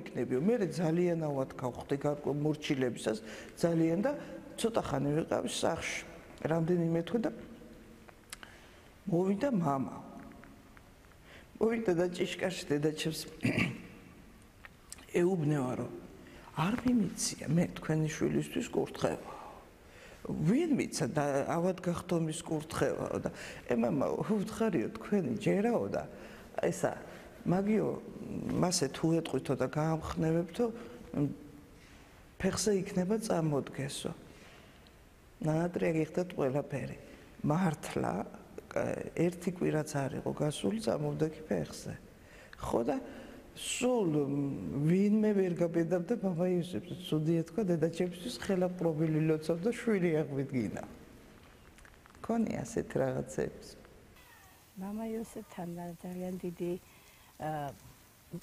იქნებიო. მე ძალიანავად გავხდი მორჩილებისას ძალიან და ცოტა ხანი ვიყავი სახლში. რამდენიმე თვე და მოვიდა მამა. მოვიდა და ჭიშკარში დედაჩემს ეუბნება რომ არ მიმიცია მე თქვენი შვილისთვის კურთხევა. ვინ მიცა და ავად გახდომის კურთხევაო და მამა უთხარიო თქვენი ჯერაო და ესა მაგიო მასე თუ ეტყვითო და გაამხნევებთო ფეხზე იქნება წამოდგესო. ნაადრე გიხდათ ყველაფერი. მართლა ერთი კვირაც არ იყო გასული წამოვდექი ფეხზე. ხო და სულ ვინმე ვერ გაბედავდა მამა იოსებს. ცუდი ეთქვა დედაჩემისთვის ხელა პრობილი ლოცავ და შვილი აღვიდგინა. ქონია ასეთ რაღაცებს. მამა იოსებთან ძალიან დიდი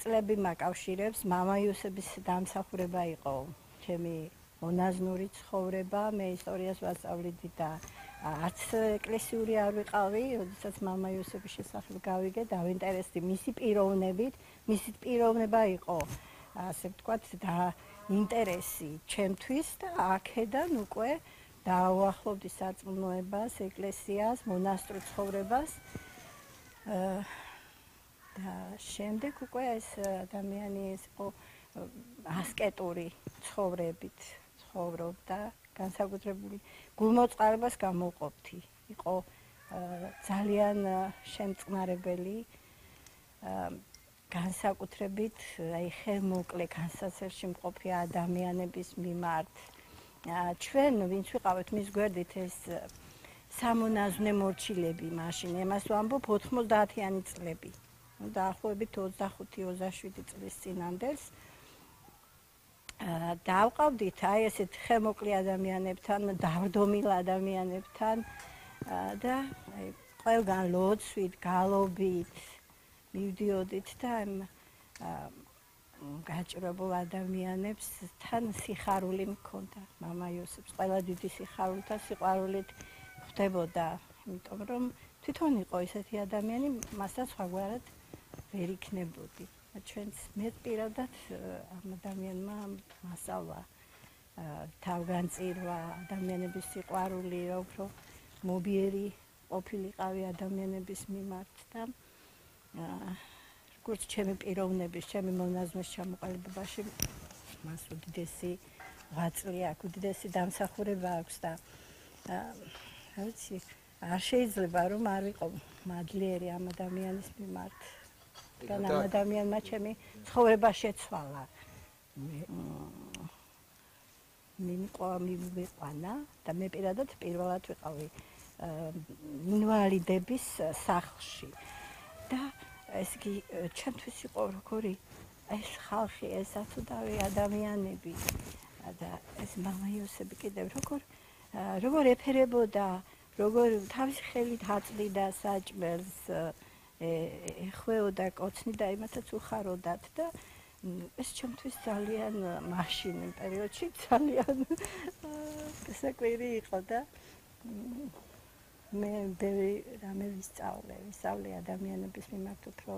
წლები მაკავშირებს. მამა იოსების დამსახურება იყო ჩემი მონაზნური ცხოვრება. მე ისტორიას ვასწავლიდი და არც ეკლესიური არ ვიყავი, როდესაც მამა იოსების შესახებ გავიგე, დავინტერესდი მისი პიროვნებით. მისი პიროვნება იყო, ასე ვთქვათ, და ინტერესი ჩემთვის და აქედან უკვე დავუახლოვდი სარწმუნოებას, ეკლესიას, მონასტრულ ცხოვრებას. და შემდეგ უკვე ეს ადამიანი იყო ასკეტური ცხოვრებით ცხოვრობდა, განსაკუთრებული გულმოწყარებას გამოუყოფთი. იყო ძალიან შემწყნარებელი, განსაკუთრებით აი ხელმოკლე განსაცერში მყოფი ადამიანების მიმართ. ჩვენ ვინც ვიყავით მის გვერდით ეს სამონაზვნე მორჩილები მაშინ, εμას ვამბობ 90-იანი წლები. დაახლოებით 25-27 წლის წინანდელს დავყავდით აი ესეთ ხელმოკლე ადამიანებთან, დავდომილ ადამიანებთან და აი ყველგან ლოცვით, გალობით მივდიოდით და გაჭირებულ ადამიანებსთან სიხარული მქონდა. მამა იოსებს ყველა დიდი სიხარულით და სიყვარულით ხვდებოდა, იმიტომ რომ თვითონ იყო ესეთი ადამიანი, მასაც სხვაგვარად ვერ იქნებოდი. ჩვენც მე პირადად ამ ადამიანმა მასალა თავგანწირვა, ადამიანების სიყვარული, რა უფრო მობიერი ყოფილიყავი ადამიანების მიმართ და როგორც ჩემი პიროვნების, ჩემი მონაზვნის ჩამოყალიბებაში მას უდიდესი ღვაწლი აქვს, უდიდესი დამსახურება აქვს და რა ვიცი, არ შეიძლება რომ არ ვიყო მადლიერი ამ ადამიანის მიმართ. ამ ადამიანმა ჩემი ცხოვრება შეცვალა. მივიყვანა და მე პირადად პირველად ვიყავი ინვალიდების სახლში. და ეს კი ჩემთვის იყო როგორი ეს ხალხი, ეს ათუდავი ადამიანები და ეს მამა იოსები კიდევ როგორ ეფერებოდა, როგორ თავისი ხელით აწვდიდა საჭმელს, ეხვეოდა, კოცნიდა, იმათაც უხაროდათ და ეს ჩემთვის ძალიან მაშინ იმ პერიოდში ძალიან საკვირი იყო და მე ბევრი რამე ვისწავლე ადამიანების მიმართ უფრო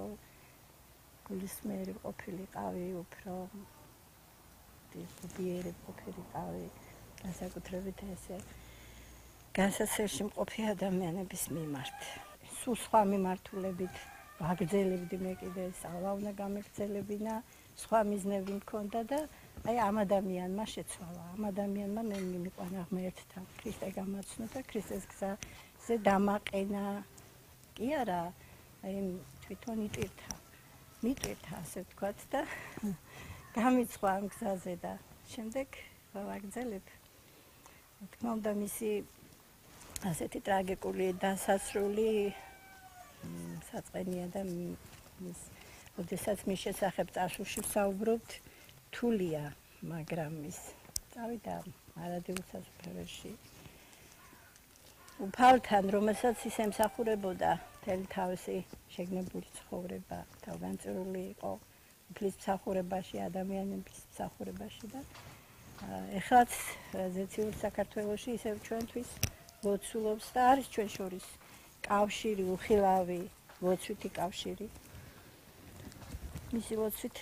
გულისმიერი ყოფილიყავი, უფრო მობიერი ყოფილიყავი, განსაკუთრებით ესე განსაცერში მყოფი ადამიანების მიმართ. სულ სხვა მიმართულებით ვაგრძელებდი მე კიდე სწავლა უნდა გამეგრძელებინა, სხვა მიზნები მქონდა და აი ამ ადამიანმა შეცვალა. ამ ადამიანმა მე მიმიყვანა ღმერთთან, ქრისტე გამაცნო და ქრისტეს გზაზე დამაყენა. კი არა, აი თვითონ მიტვირთა, ასე ვთქვათ და გამიცხვა ამ გზაზე და შემდეგ ვაგრძელებ. თქმა უნდა მისი ასეთი ტრაგიკული დასასრული საწყენია და როდესაც მის შესახებ წარსულში ვსაუბრობთ, რთულია, მაგრამ ის წავიდა არადილ სასუფეველში. უფალთან, რომელსაც ის ემსახურებოდა მთელი თავისი შეგნებული ცხოვრება, თავგანწირული იყო უფლის მსახურებაში, ადამიანების მსახურებაში და ეხლაც ზეციურ საქართველოში ისევ ჩვენთვის ლოცულობს და არის ჩვენ შორის კავშირი, უხილავი, ლოცვითი კავშირი. მისი ლოცვით